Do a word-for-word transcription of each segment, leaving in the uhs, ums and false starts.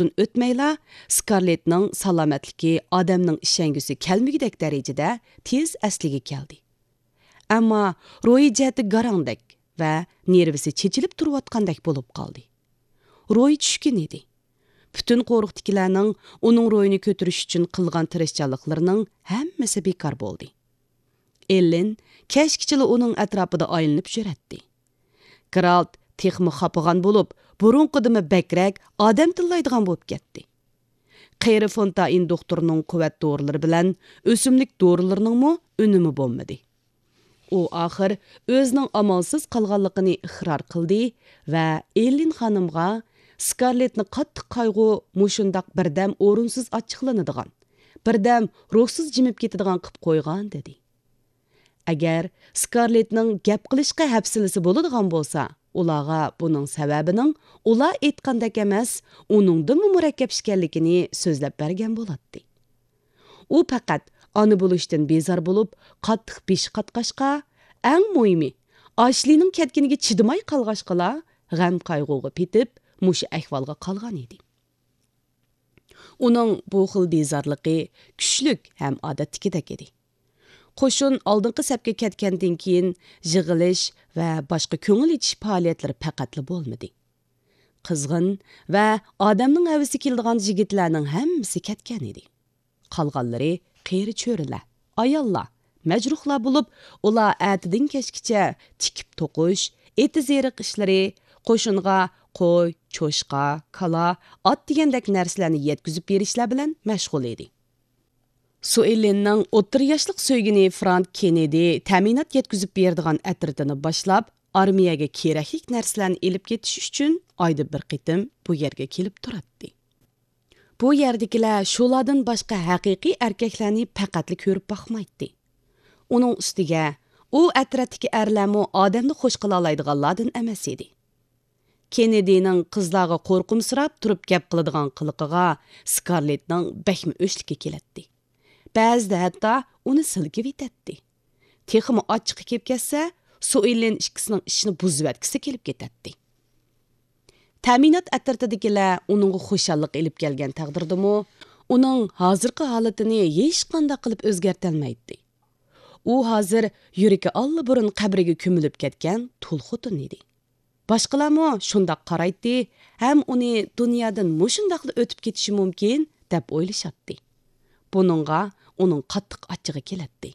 ئۇزۇن ئۆتمەيلا، سكارلېتنىڭ سالامەتلىكى ئادەمنىڭ ئىشەنگۈسى كەلمىگۈدەك دەرىجىدە تېز ئەسلىگە كەلدى. ئەمما روھىي جەھەتتە گاراڭدەك ۋە نېرۋىسى چېچىلىپ تۇرۇۋاتقاندەك بولۇپ قالدى. روھى چۈشكۈن ئىدى. پۈتۈن قورۇقتىكىلەرنىڭ ئۇنىڭ روھىنى كۆتۈرۈش ئۈچۈن قىلغان تىرىشچانلىقلىرىنىڭ ھەممىسى بىكار بولدى. ئېللېن كەچكىچىلا ئۇنىڭ ئەتراپىدا ئايلىنىپ يۈرەتتى. گېرالت تېخىمۇ خاپىغان بولۇپ، بۇرۇنقىدىنمۇ بەكرەك ئادەم تىللايدىغان بولۇپ كەتتى. قېرى فونتائىن دوختۇرنىڭ قۇۋۋەت دورىلىرى بىلەن ئۆسۈملۈك دورىلىرىنىڭمۇ ئۈنۈمى بولمىدى. ئۇ ئاخىر ئۆزىنىڭ ئامالسىز قالغانلىقىنى ئىقرار قىلدى ۋە ئېللېن خانىمغا سكارلېتنى قاتتىق قايغۇ مۇشۇنداق بىردەم ئورۇنسىز ئاچچىقلىنىدىغان، بىردەم روھسىز جىمىپ كېتىدىغان قىپ قويغان، دېدى. ئەگەر سكارلېتنىڭ گەپ قىلىشقا ھەپسىلىسى بولىدىغان بولسا، ئۇلارغا بۇنىڭ سەۋەبىنىڭ ئۇلار ئېيتقاندەك ئەمەس، ئۇنىڭدىنمۇ مۇرەككەپ ئىكەنلىكىنى سۆزلەپ بەرگەن بولاتتى. ئۇ پەقەت ئانا بولۇشتىن بېزار بولۇپ، قاتتىق بېشى قاتقاچقا، ئەڭ مۇھىمى، ئاشلىنىڭ كەتكىنىگە چىدىماي قالغاچقىلا، غەم-قايغۇغا پېتىپ، مۇشۇ ئەھۋالغا قالغان ئىدى. ئۇنىڭ بۇ خىل بىزارلىقى كۈچلۈك ھەم ئادەتتىكىدەك ئىدى. قوشۇن ئالدىنقى سەپكە كەتكەندىن كېيىن، يىغىلىش ۋە باشقا كۆڭۈل ئېچىش پائالىيەتلىرى پەقەتلا بولمىدى. قىزغىن ۋە ئادەمنىڭ ھەۋىسى كېلىدىغان يىگىتلەرنىڭ ھەممىسى كەتكەن ئىدى. قالغانلىرى قېرى چۆرىلەر، ئاياللار، مەجرۇھلار بولۇپ، ئۇلار ئەتىدىن كەچكىچە تىكىپ توقۇش، ئېتىز-ئېرىق ئىشلىرى، قوشۇنغا قوي، چوشقا، كالا، ئات دېگەندەك نەرسىلەرنى يەتكۈزۈپ بېرىشلەر بىلەن مەشغۇل ئىدى. سۇئېلىننىڭ ئوتتۇرا ياشلىق سۆيگىنى فرانك كېننېدى تەمىنات يەتكۈزۈپ بېرىدىغان ئەترىتىنى باشلاپ، ئارمىيەگە كېرەكلىك نەرسىلەرنى ئېلىپ كېتىش ئۈچۈن ئايدا بىر قېتىم بۇ يەرگە كېلىپ تۇراتتى. بۇ يەردىكىلەر شۇلاردىن باشقا ھەقىقىي ئەركەكلەرنى پەقەتلا كۆرۈپ باقمايتتى. ئۇنىڭ ئۈستىگە، ئۇ ئەترەتتىكى ئەرلەرمۇ ئادەمنى خۇش قىلالايدىغانلاردىن ئەمەس ئىدى. كېننېدىنىڭ قىزلارغا قورقۇمسىراپ تۇرۇپ گەپ قىلىدىغان قىلىقىغا سكارلېتنىڭ بەكمۇ ئۆچلۈكى كېلەتتى. بەزىدە ھەتتا ئۇنى سىلكىۋېتەتتى. تېخىمۇ ئاچچىقى كېلىپ كەتسە، سۇئېلىن ئىككىسىنىڭ ئىشىنى بۇزۇۋەتكۈسى كېلىپ كېتەتتى. تەمىنات ئەترىتىدىكىلەر ئۇنىڭغا خۇشاللىق ئېلىپ كەلگەن تەقدىردىمۇ، ئۇنىڭ ھازىرقى ھالىتىنى ھېچقانداق قىلىپ ئۆزگەرتەلمەيتتى. ئۇ ھازىر يۈرىكى ئاللىبۇرۇن قەبرىگە كۆمۈلۈپ كەتكەن تۇل خوتۇن ئىدى. باشقىلارمۇ شۇنداق قارايتتى ھەم ئۇنى دۇنيادىن مۇشۇنداقلا ئۆتۈپ كېتىشى مۇمكىن، دەپ ئويلىشاتتى. بۇنىڭغا ئۇنىڭ قاتتىق ئاچچىقى كېلەتتى.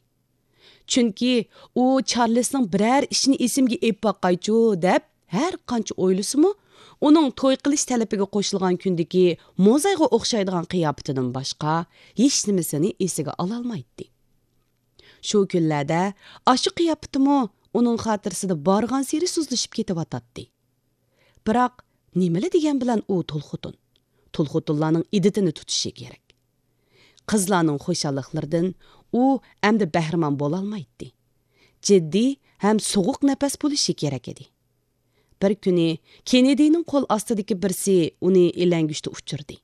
چۈنكى ئۇ چارلىسنىڭ بىرەر ئىشىنى ئېسىمگە ئېلىپ باقايچۇ، دەپ ھەر قانچە ئويلىسىمۇ، ئۇنىڭ توي قىلىش تەلىپىگە قوشۇلغان كۈندىكى موزايغا ئوخشايدىغان قىياپىتىدىن باشقا ھېچنېمىسىنى ئېسىگە ئالالمايتتى. شۇ كۈنلەردە ئاشۇ قىياپىتىمۇ ئۇنىڭ خاتىرىسىدە بارغانسېرى سۇسلىشىپ كېتىۋاتاتتى. بىراق، نېمىلا دېگەن بىلەن ئۇ تۇل خوتۇن؟ تۇل خوتۇنلارنىڭ ئىددىتىنى تۇتۇشى كېرەك. قىزلارنىڭ خۇشاللىقلىرىدىن ئۇ ئەمدى بەھرىمەن بولالمايتتى. جىددىي ھەم سوغۇق نەپەس بولۇشى كېرەك ئىدى. بىر كۈنى كېننېدىنىڭ قول ئاستىدىكى بىرسى ئۇنى ئىلەڭگۈچتە ئۇچۇردى.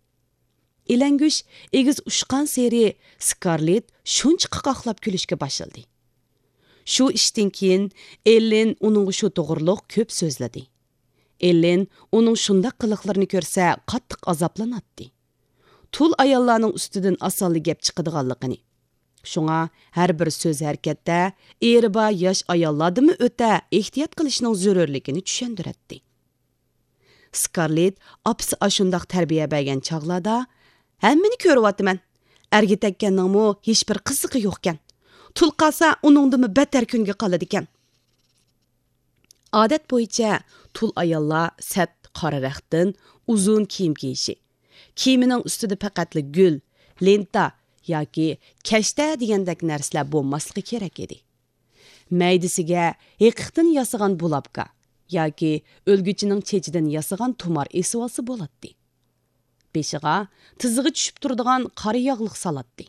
ئىلەڭگۈچ ئېگىز ئۇچقانسېرى سكارلېت شۇنچە قاقاقلاپ كۈلۈشكە باشلىدى. شۇ ئىشتىن كېيىن ئېللېن ئۇنىڭغا شۇ توغرۇلۇق كۆپ سۆزلىدى. ئېللېن ئۇنىڭ شۇنداق قىلىقلىرىنى كۆرسە قاتتىق ئازابلىناتتى. تۇل ئاياللارنىڭ ئۈستىدىن ئاسانلا گەپ چىقىدىغانلىقىنى، شۇڭا ھەر بىر سۆز-ھەرىكەتتە ئېرى بار ياش ئاياللاردىنمۇ ئۆتە ئېھتىيات قىلىشنىڭ زۆرۈرلۈكىنى چۈشەندۈرەتتى. سكارلېت ئاپىسى ئاشۇنداق تەربىيە بەرگەن چاغلاردا، ھەممىنى كۆرۈۋاتىمەن. ئەرگە تەگكەننىڭمۇ ھېچبىر قىزىقى يوقكەن. تۇل قالسا، ئۇنىڭدىنمۇ بەتتەر كۈنگە قالىدىكەن. ئادەت بويىچە تۇل ئاياللار سەت قارا رەختتىن ئۇزۇن كىيىم كىيىشى، كىيىمىنىڭ ئۈستىدە پەقەتلا گۈل، لېنتا ياكى كەشتە دېگەندەك نەرسىلەر بولماسلىقى كېرەك ئىدى. مەيدىسىگە ھېقىقتىن ياسىغان بۇلاپكا ياكى ئۆلگۈچىنىڭ چېچىدىن ياسىغان تۇمار ئېسىۋالسا بولاتتى. بېشىغا تىزىغا چۈشۈپ تۇرىدىغان قارا ياغلىق سالاتتى.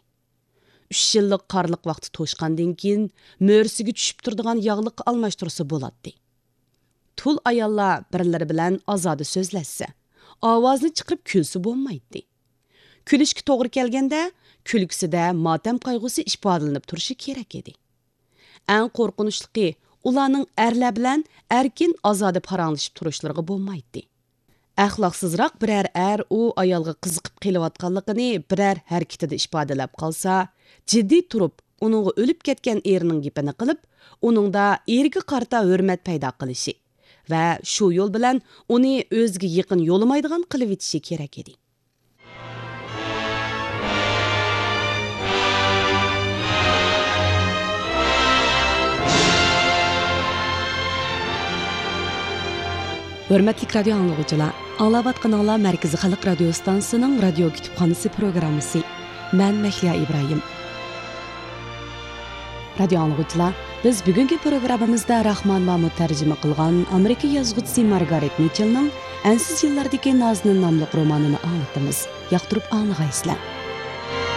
ئۈچ يىللىق قارلىق ۋاقتى توشقاندىن كېيىن، مۈرىسىگە چۈشۈپ تۇرىدىغان ياغلىققا ئالماشتۇرسا بولاتتى. تۇل ئاياللار بىرلىرى بىلەن ئازادە سۆزلەشسە، ئاۋازنى چىقىرىپ كۈلسە بولمايتتى. كۈلۈشكە توغرا كەلگەندە، كۈلكىسىدە ماتەم قايغۇسى ئىپادىلىنىپ تۇرۇشى كېرەك ئىدى. ئەڭ قورقۇنچلۇقى، ئۇلارنىڭ ئەرلەر بىلەن ئەركىن، ئازادە پاراڭلىشىپ تۇرۇشلىرىغا بولمايتتى. ئەخلاقسىزراق بىرەر ئەر ئۇ ئايالغا قىزىقىپ قېلىۋاتقانلىقىنى بىرەر ھەرىكىتىدە ئىپادىلەپ قالسا، جىددىي تۇرۇپ ئۇنىڭغا ئۆلۈپ كەتكەن ئېرىنىڭ گېپىنى قىلىپ، ئۇنىڭدا ئېرىگە قارىتا ھۆرمەت پەيدا قىلىشى ۋە شۇ يول بىلەن ئۇنى ئۆزىگە يېقىن يولىمايدىغان قىلىۋېتىشى كېرەك ئىدى. ھۆرمەتلىك رادىيو ئاڭلىغۇچىلار، ئاڭلاۋاتقىنىڭلار مەركىزىي خەلق رادىيو ستانسىسىنىڭ رادىيو كۇتۇپخانىسى پروگراممىسى. مەن مەھلىيا ئىبراھىم. رادىيو ئاڭلىغۇچىلار، بىز بۈگۈنكى پروگراممىمىزدا راخمان مامۇت تەرجىمە قىلغان ئامېرىكا يازغۇچىسى مارگارېت مىچېلنىڭ ئەنسىز يىللاردىكى نازنىن ناملىق رومانىنى ئاڭلىتىمىز. ياقتۇرۇپ ئاڭلىغايسىلەر.